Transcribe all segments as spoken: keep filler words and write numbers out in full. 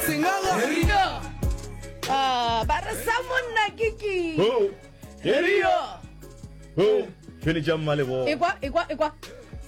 Sengaga. Ah, ba re sa monna ke ke. Ho. Heria. Ho. Tšhwene tša mmalebogo. Ekwa, ekwa, ekwa.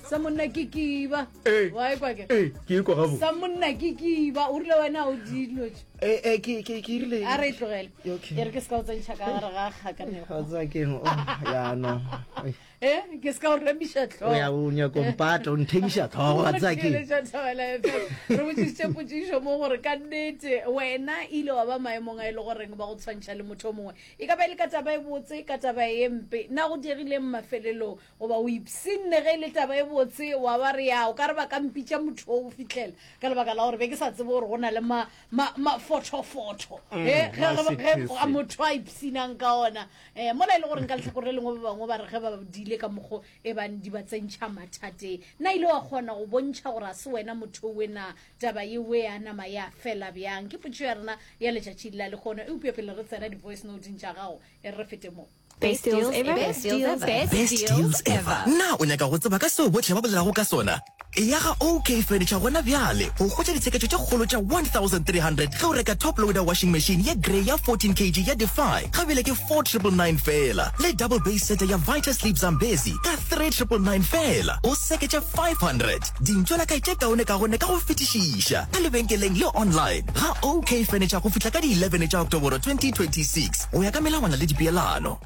Sa monna ke kiba. Ee. Wa ekwa ke? Ee, ke ekwa gabo. Sa monna ke kiba. O rile wena o dilo tše. Eh, eh, ke ke ke rile. A re e tlogele. Okay. E re ke se ka o tsentšha ka gare ga kgakanego. Ga tseba ke eng? Oh, ya no. Ei. Eh, ke se ka o remiša O ya tlhogo. o nyako mpata, o nthemiša tlhogo, wa tseba ke eng? Theeletša Thobela F M. Re botšišitše potšišo mo gore ka nnete wena ile wa ba maemong a e le goreng ba go tshwantšha le motho o mongwe. E ka ba e le ka taba e botse, ka taba e mpe. Na go diegileng mafelelong? Goba o ipshinne ge e le taba e botse, wa ba re ya o ka re ba ka mpitša motho o go fihlela ka lebaka la gore be ke sa tsebe gore go na le ma, ma, mafothofotho Mm, eh, ge, ge, ge masethese. motho a ipshinang ka ona. Eh, mola e le gore nka lehlakore le lengwe ba bangwe ba re ge ba diile ka mokgo e bang di ba tsentšha mathateng. Na ile wa kgona go bontšha gore a se wena motho owe na taba yewe ya nama ya fela bjang? Ke potšišo ya rena ya letšatši la lehono. Eupša pele re tsena di-voice note-ing tša gago, e re re fete mo. Best deals ever. Best deals ever. Best deals ever. Na o nyaka go tseba ka seo bohle ba bolelago ka sona? Eya ga OK Furniture gona bjale go hwetša ditsheketšo tše kgolo tša one thousand three hundred ge o reka top loader washing machine ye grey ya fourteen kg ya Defy ga bjale ke four triple nine feela le double base seta ya Vita Sleep Zambezi ka three triple nine feela. O seketša five hundred dintšwelakae tše kaonekaone ka go fetišiša ka lebenkeleng le online ga OK Furniture go fihla ka di eleven tša Oktoboro twenty twenty-six go ya ka melawana le dipeelano.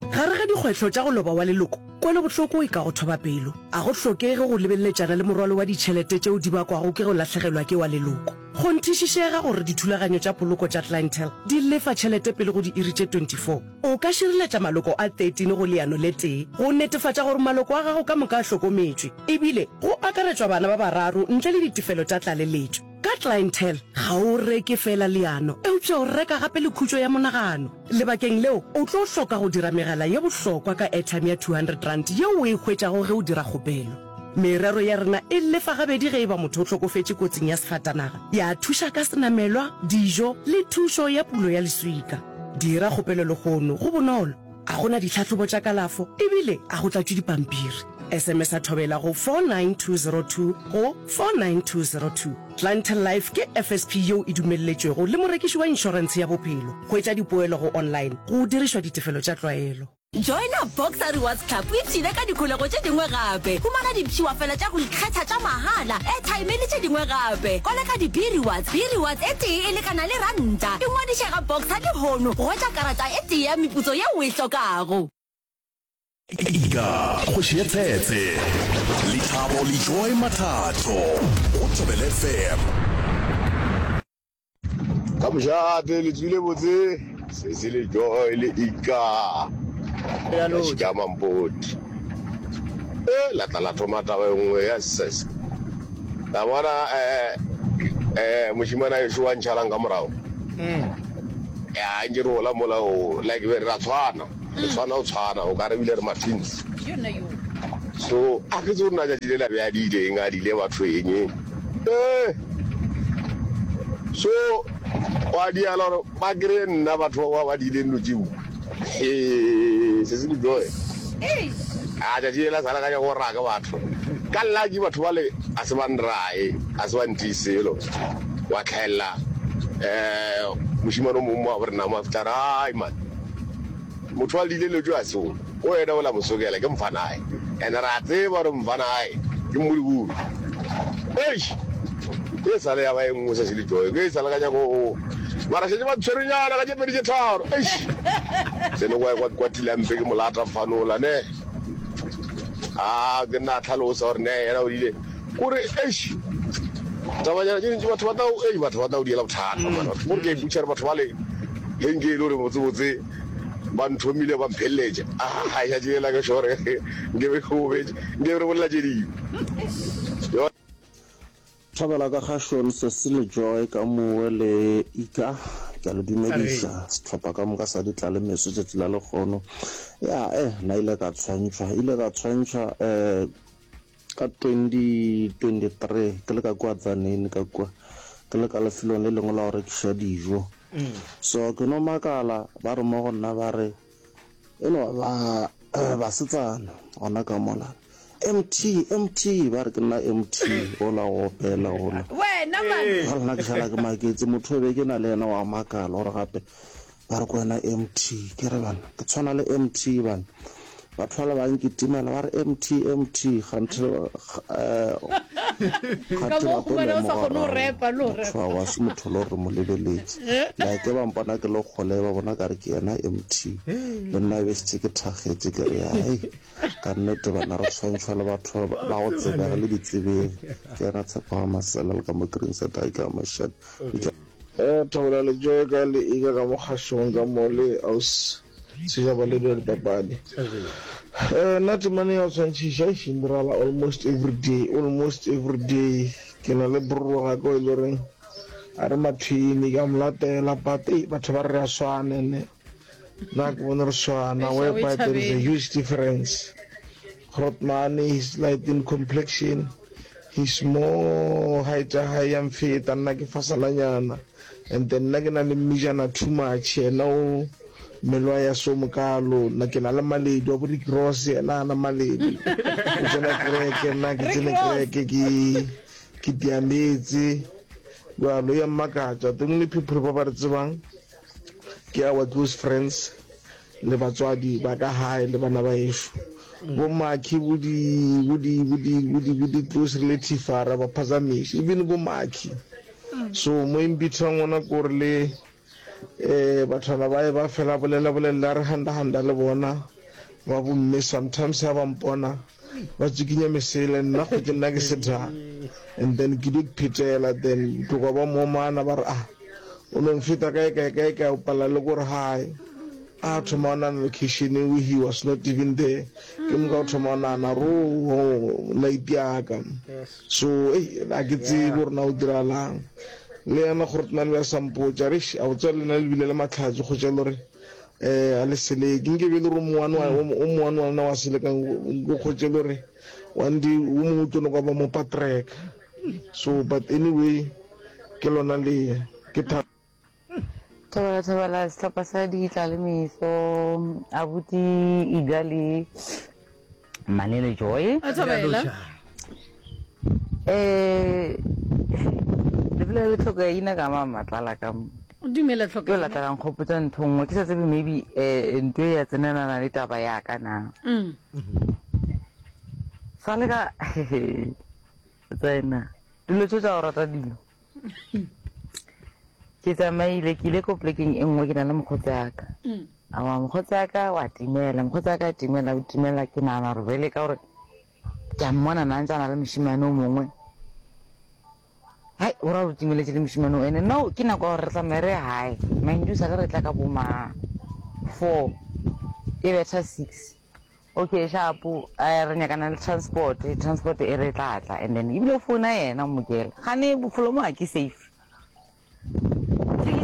Gare ga dikgwetlho tša go loba wa leloko, kwelobohloko e ka go thoba pelo. A go hlokege go lebeleletšana le morwalo wa ditšhelete tšeo di bakwago ke go lahlegelwa ke wa leloko. Kgonthišišega gore dithulaganyo tša poloko tša Clientele di lefa tšhelete pele go diiri tše twenty-four. O ka šireletša maloko a thirteen go leano le tee go netefatša gore maloko a gago ka moka a hlokometšwe, ebile go akaretšwa bana ba bararo ntle le ditefelo tša tlaleletšo. Ka Clientele, ga o reke feela leano, eupša o reka gape le khutšo ya monagano. Lebakeng leo, o tlo hloka go dira megala ye bohlokwa ka airtime ya two hundred rand yeo o e hwetšago ge o dira kgopelo. Merero ya rena e lefa gabedi ge e ba motho o hlokofetše kotsing ya sefatanaga, ya thuša ka senamelwa, dijo le thušo ya pulo ya leswika. Dira kgopelo lehono, go bonolo, ga go na ditlhahlobo tša kalafo ebile ga go tlatšwe dipampiri. S M S a Thobela go four nine two zero two go four nine two zero two. Clientele Life ke F S P yeo e dumelletšwego le morekiši wa inšorentshe ya bophelo. Hwetša dipoelo go online go dirišwa ditefelo tša tlwaelo. Joina Boxer Rewards Club o ipshine ka dikholego tše dingwe gape. Humana dipshiwafela tša go ikgetha tša mahala, airtime le tše dingwe gape. Koleka di-B-Rewards, B-Rewards e tee e lekana le ranta. Ingwadiše ga Boxer lehono go hwetša karata e tee ya meputso yeo o e hlokago. Ika, kgoši ya tshetse. Lethabo le Joy Mathatho go Thobela F M. Ka mošate le tswile botse sesi le Joy le Ika. Re a lotša. Ka mampoti. E la tla la thoma taba e nngwe ya ses. La bona eh eh mošimana ešo wa ntšhalang ka morago. Ya ntše re gola mola o like be re ra tshwana. Re tshwana o tshwana o ka re bile re ma twins. So a ke tsebe gore na tšatši le la be a diile eng a diile batho eng. Eh so wa diala gore ba kry-e nna batho ba ba diileng dilo tšeo. He se se le joy. A tšatši le la sala ka nyaka go raka batho. Ka lucky batho bale a se ba nrae, a se ba ntiise selo. Wa tlhaelela eh mošemane o mongwe mo wa bo rena mo a fihla a re hai man. Motho wa leile letšo a se o, o wena o la mo sokela ke mfanae. And ra tseba gore mfanae ke mmolibulu. Eish! E sale ya ba e nngwe se se le joy. Ke e sale ka nyako o. Mara šetše ba ntshwerenyana ka tše pedi tše tharo. Eish! Tsene kwa kwa kwa Tilampe ke molata mfanola ne. Ah, ke nna a tlhalosa gore ne yena o ile. Kore eish! Tabanyana tše dintši batho ba tla ei batho ba tla o diela bothata mara. Gore ke a ipotšiša gore batho bale ge nke e le gore botsebotse ba nthomile ba mpheleletša. Ah, tšatši lela ke sure nke be ke gobetše, nke be re bolela tše dingwe. Yo. Thobela ka kgašong Cecile Joy ka mowe le Ika, ke a le dumediša sehlopha ka moka sa Ditlalemeso tšatši la lekgono. Ya eh nna ile ka tshwantšhwa, ile ka tshwantšhwa eh ka twenty twenty-three ke le ka kua Tzaneen ka kua, ke le ka lefelong le lengwe la go rekiša dijo. So ke no makala ba re mo go nna ba re e no ba basetsana gona ka mola M T M T ba re ke nna M T ola go opela ola. wena man. Ga lena ke šala ke maketse motho o be ke na le yena wa makala gore gape ba re ko wena M T ke re bana ke tshwana le M T bana batho bale ba nkitimela ba re M T M T kganthe eh, Ka kganthe mo ba tlo humana o sa lemoga kgone go gore repa le go motho repa. wa wa se motho le gore re mo lebeletse like ba mpona ke le kgole ba bona ka re ke yena M T le nna e be šetše ke thakgetše ke re ai ka nnete bana re tshwantšhwa le batho ba ba go tsebega le ditsebeng ke yena Tshepo ga Masela le ka mo Green Set a ka Mashadi Eh, Thobela le Joy ka le ika ka mo kgašong ka mo le aus setšhaba le dira dipapadi. Eh, nna temane ya go tshwantšhiša e šindirala almost every day, almost every day. Ke na le bro ga ka o e le goreng a re mathwini ka mo latela but ei batho ba re re a swana ene nna ke bone re swana Eish, a o e whereby there is a thabele. huge difference. Grootman is light in complexion, he's more height ya hae ya mfeta, nna ke fasalanyana and then nna ke na le mmijana too much, yena o mmele wa ya so mokalo, nna ke na le maledu a bo Rick Ross, yena ana maledu, o tsena kereke, nna ke Rick tsene Ross. kereke ke ke tiametse jalo ya mmakatša. The only people ba ba re tsebang ke our close friends le batswadi ba ka hae le bana ba ešo bo maki bo di bo di bo di bo di bo di close relative a ra ba phazamiša even bo maki so mo embithang ona ko re le eh bathwana ba e ba fela bolela bolela re handa handa le bona ba bomme sometimes ha ba mpona ba tsikinya mesele nna go ke nna ke setha and then ke di phetela then tloga ba momana ba re ah o no mfeta kae kae kae kae o pala le gore hae a thoma o nana location we he was not even there ke moka o thoma o nana ro night yaka so ei a ke tsebe gore na o diralang le yena gore tna le ya sampotša re a o tswa lena le bile le matlhatsi go tša lore eh a le seleke nke be le gore mowane wa o mowane wa lena wa selekang go kgotše le gore one day o mongwe o tlo no kwa ba mo patreka so but anyway ke lona le ke tha Thobela thobela sehlopha sa ditla le meso abuti Iga le Manele Joy. A thobela. Eh le bolela le tlhoka ina ka ma matlala ka mo. Dumela Ke tlhoka la tla nkgopotsa ntho nngwe ke sa tsebe maybe eh ntho e ya tsenelana le taba ya ka na. Mm. Sa le ka tsena dilo tse tsa go rata dilo. Ke tsamaile ke ile ko polekeng e nngwe ke na le mokgotsi wa ka. Mm. Aowa mokgotsi wa ka wa timela, mokgotsi wa ka a timela o timela ke nagana gore bjale ka gore ke a mmona na ntse a na le mošemane o mongwe. Hai o ra gore o timeletše le mošemane o ene no ke nako ya gore re tsamaye re ye gae. Mind you sa le re tla ka bo ma four e betha six. Okay shapo eh, re nyakana le transport, transport e re tla tla and then ebile o founa yena o mokela. Gane bofelo mo ga ke safe.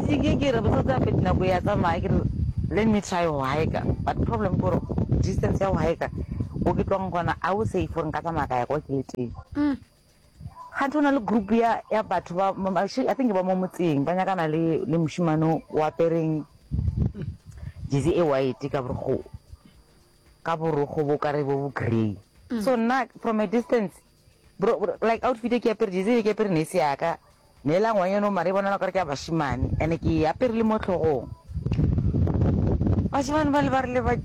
Ke ke re botsotsi gape nako ya tsamaya ke re let me try go hike but problem ke gore distance ya go hike ko ke tlong gona a o safe gore nka tsamaya ka ya kwa ke le teng. Mm. Kganthe go na le group ya ya batho ba ma- actually I think ba mo motseng ba nyakana le le mošemane o apereng jersey e white ka borokgo ka borokgo bo kare bo bo grey. So nna from a distance bro, bro like outfit e ke apere jersey e ke apere ne e se ya ka neela ngwanyana o mare e bonala kare ke ya bašemane and ke e apere le mo tlhogong. Bašemane ba le ba rile ba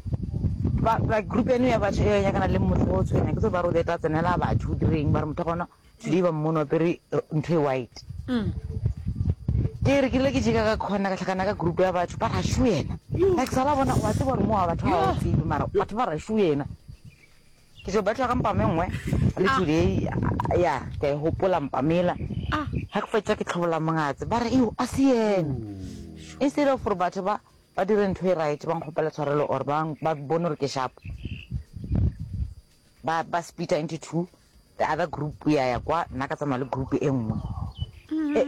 ba ba group eno ya batho e nyakana le motho o tshwenya ke tse ba re o tla tsenela batho o direng ba re motho wa gona today ba mmone o apere eh, ntho e white. Mm. Ke re ke ile ke jeka ka khona ka tlhakana ka group ya batho ba ra shu yena like sala bona wa tseba gore mo wa batho ba o tsebe mara batho ba ra shu yena ke tlo batla ka mpama e nngwe le today ya ke a e gopola mpamela Ah. ga ke fetsa ke tlhobola mongatse ba re eo a se yena instead of gore batho ba ba dire ntho e right ba nkgopela tshwarelo or ba ba bone gore ke sharp ba ba splitta into two the other group ya ya kwa nna ka tsamaya le group e nngwe E-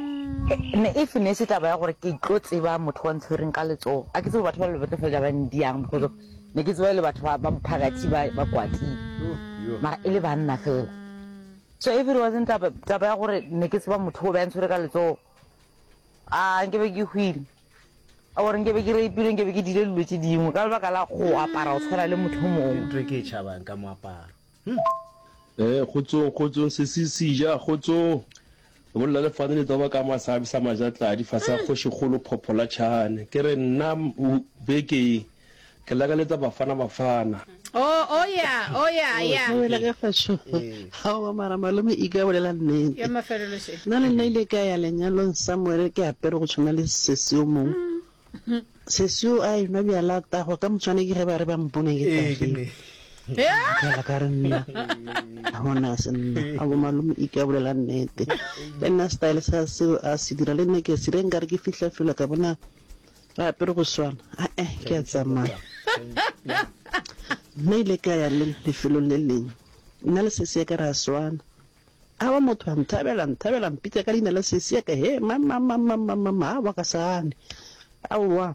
e- ne if ne se taba ya gore ke tlo tseba motho wa ntshwereng ka letsogo a ke tsebe batho ba le ba tlo feleletsa ba ndiang because of ne ke tseba e le batho ba ba mophakathi ba ba kwatile mara e le banna fela so if it wasn't taba taba ya gore ne ke tseba motho o be a ntshwere ka letsogo a nke be ke hwile or nke be ke rapile nke be ke dile dilo tše dingwe ka lebaka la go apara go tshwana le motho o mongwe ntho e ke e tšhabang ka moaparo Eh, kgotsong, kgotsong, sesi seja, kgotsong. Le bolela le Fani Letsoba ka Masabi sa Majatladi fase ga Kgošikgolo Phopho la Tšhane. Ke re nna beke ye ke lakaletsa Bafana Bafana. Oh, oh yeah, oh yeah, yeah. Thobela ka kgašo. Aowa mara malome Ika bolela nnete. Ya mafelelo še. Nna le nna ile ka ya lenyalong somewhere ke apere go tshwana le sesi yo mongwe. Sesi yo a enwa bjala a tagwa ka motshwane ke ge ba re ba mpone ke tagilwe. Bjala ka re nna ga gona se nna. A bo malome Ika bolela nnete. Le nna style sa seo a se dira le nna ke a se dira nkare ke fihla fela ka bona re apere go swana. Ae ke a tsamaya. Nna ile ka ya le lefelong le lengwe. Nna le sesi ya ka re a swana. Aowa motho a nthabela, a nthabela, a mpitša ka leina la sesi ya ka, he, ma, ma, ma, ma, ma, ma, ma, aowa ka se gane. Aowa,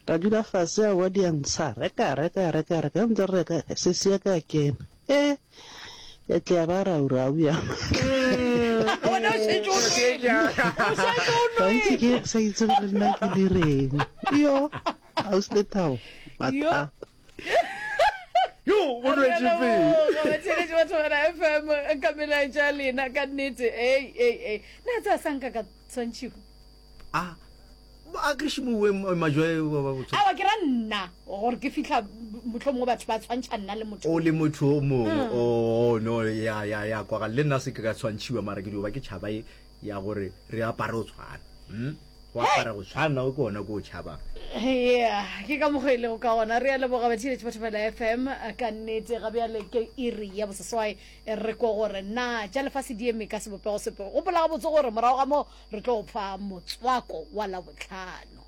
ra dula fase, aowa di a ntsha, reka, reka, reka, reka, ge ntse re reka, sesi ya ka a kena, he, ya tle ya ba rau, rau ya. Wena o šetše o nwele, o šetše o Gantši ke nwele. sa itse gore nna ke direng. Yo, ausi Lethabo, mathata. Yo, o nwetše pele. Batheeletši ba Thobela FM ka melaetša ya lena ka nnete. Ei, ei, ei. Na tseba sa nka ka tshwantšhiwa? A a ke šimowe majwe wa ba botho. Awa ke ra nna gore ke fihla mohlomongwe batho ba tshwantšha nna le motho. O le motho o mongwe. Oh no ya ya ya kwagala le nna se ke ka tshwantšhiwa mara ke dio ba ke tšhaba e ya gore re apare go tshwana. Hmm? Go apara go tshwana ke ona ko o tšhabang. Yeah, ke ka mokgwa e lego ka gona. Re a leboga batheeletši ba Thobela F M ka nnete. Ga bjale ke iri ya boseswai, re ko gore na tša lefase di eme ka sebopego sepe. Gopola gabotse gore morago ga moo re tlo go fa motswako wa Labohlano.